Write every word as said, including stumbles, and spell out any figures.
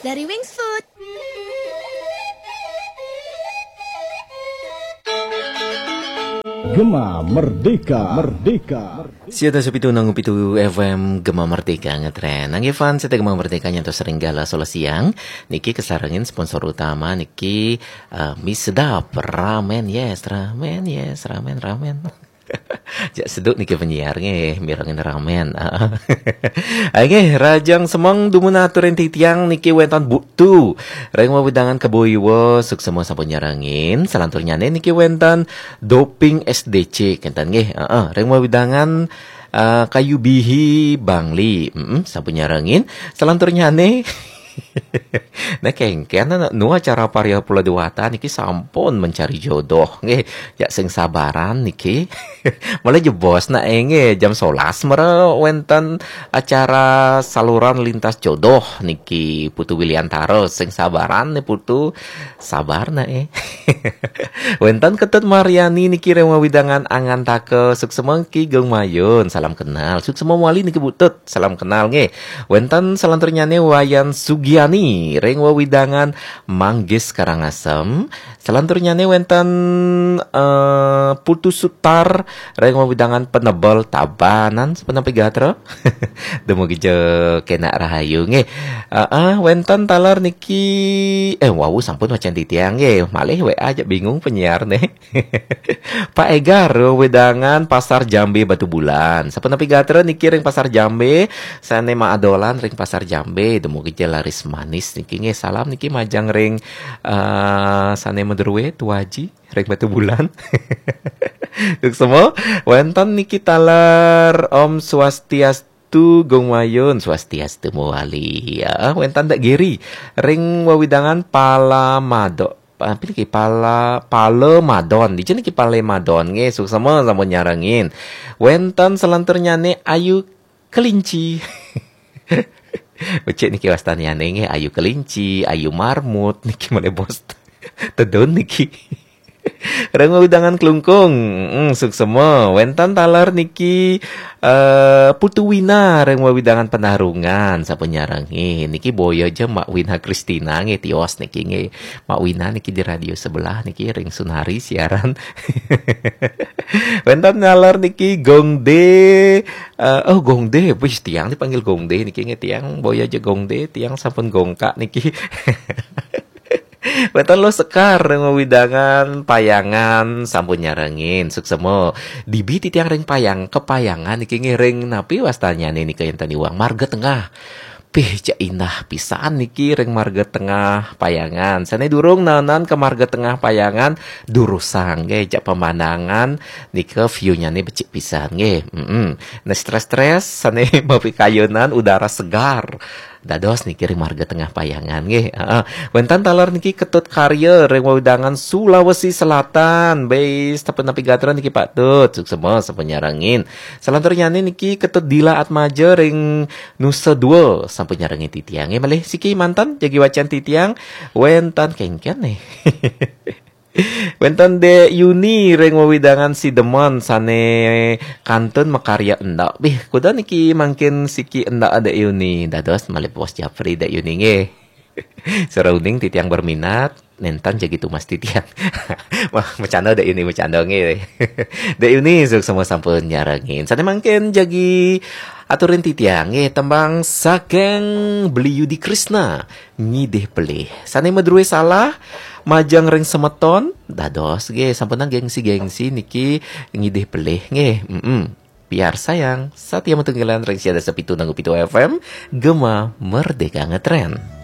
Dari Wings Food. Gema Merdeka, Merdeka. Siatus pitu nanggu pitu F M Gema Merdeka ngetren. Nangge fan sete Gema Merdeka nyantos ring galah solas siang. Niki kesarengin sponsor utama niki eh, Mi Sedap Ramen, yes, ramen, yes, ramen, ramen. Jak seduk niki penyiar nggih, mirengin ramen. Nggih, rahajeng semeng dumun aturin titiang niki wenten Buktu. Ring wewidangan Kebo Iwa, suksma sampun nyarengin. Salanturnyane niki wenten Doping S D C, kenten nggih. Heeh, ring wewidangan eh, Kayu Bihi Bangli. Mm-mm, sampun nyarengin. Salanturnyane Nah, kengken anak nu acara Paria Pulau Dewata niki sampun mencari jodoh nggih. Ya sing sabaran niki. Malah jebos nak nggih jam solas mera wenten acara saluran lintas jodoh niki Putu Wiliantara, sing sabaran nih Putu, sabar nak eh. Wenten Ketut Mariani niki ring wewidangan Angantaka, suksma niki Gung Mayun, salam kenal. Suksma wali niki Butut, salam kenal nggih. Wenten salanturnyane Wayan Sugiani ring wewidangan Manggis Karangasem. Salanturnyane wenten eh, Putu Sutar ring wewidangan Penebel Tabanan, sepenampi gatra. Dumugi ja kenak rahayu nggih. Heeh, wenten taler niki eh wau sampun wacen titiang nggih. Malih W A aja bingung penyiar nih. Pak Egar wewidangan Pasar Jambe Batubulan. Sapunapi gatra niki ring Pasar Jambe, sane maadolan ring Pasar Jambe, dumugi ja laris manis niki nggih. Salam niki majeng ring eh, sane madruwe Tuaji ring Batubulan. Suksma, wenten niki taler Om Swastiastu Gung Mayun, Swastiastu mawali. Ya, wenten Dak Giri ring wewidangan Palamado. Apa niki Pala Palemadon. Dija niki Palemadon nggih, suksma sampun nyarengin. Wenten salanturnyane Ayu Kelinci. Becik niki wastanyane nggih, Ayu Kelinci, Ayu Marmut niki malih bos. Tedun niki. Ring wewidangan Klungkung, mm, suksma. Wenten taler niki eh Putu Wina ring wewidangan Penarungan, sampun nyarengin. Niki boya ja Mak Wina Kristina nggih tios niki nggih. Mak Wina niki di radio sebelah niki ring Sunari siaran. Wenten taler niki Gong D, eh, oh Gong D, wis tiang dipanggil Gong D niki nggih tiang boya ja Gong D, tiang sampun gongkak niki. Wenten Luh Sekar ring wewidangan Payangan sampun nyarengin, suksma. Dibi titiang ring Payang, Kepayangan niki nggih ring napi wastanyane nika enten iwang Marga Tengah. Pih jak indah pisan niki ring Marga Tengah Payangan. Sane durung naenan ke Marga Tengah Payangan durusang nggih, jak pemandangan nika view-nyane becik pisan nggih. Mm-mm. Nah, stres-stres sane mapikayunan udara segar. Dados niki ring Marga Tengah Payangan nggih. Heeh. Wenten taler niki Ketut Karya ring wewidangan Sulawesi Selatan. Be, sapunapi gatra niki Pak Tut, suksma sampun nyarengin. Salanturnyane niki Ketut Dila Atmaja ring Nusa Dua sampun nyarengin titiang nggih. Malih siki manten jagi wacen titiang wenten kengken nih. Wenten Dek Yuni ring wewidangan Sidemen sane kantun makarya endak. Bih, kuda niki mangkin siki endak Dek Yuni. Dados malih Bos Japri Dek Yuni nggih. Sira uning titiang berminat, nenten jagi tumas titiang. Wah, macanda Dek Yuni, macanda nggih. Dek Yuni suksma sampun nyarengin. Sane mangkin jagi aturin titiang nggih tembang saking Beli Yudi Krisna, Ngidih Pelih. Sane madruwe salah majeng ring semeton, dados nggih sampunang gengsi-gengsi niki ngidih pelih nggih. Mm-mm. Biar sayang, satia matunggilan ring siatus pitu nanggu pitu F M, Gema Merdeka Ngetren.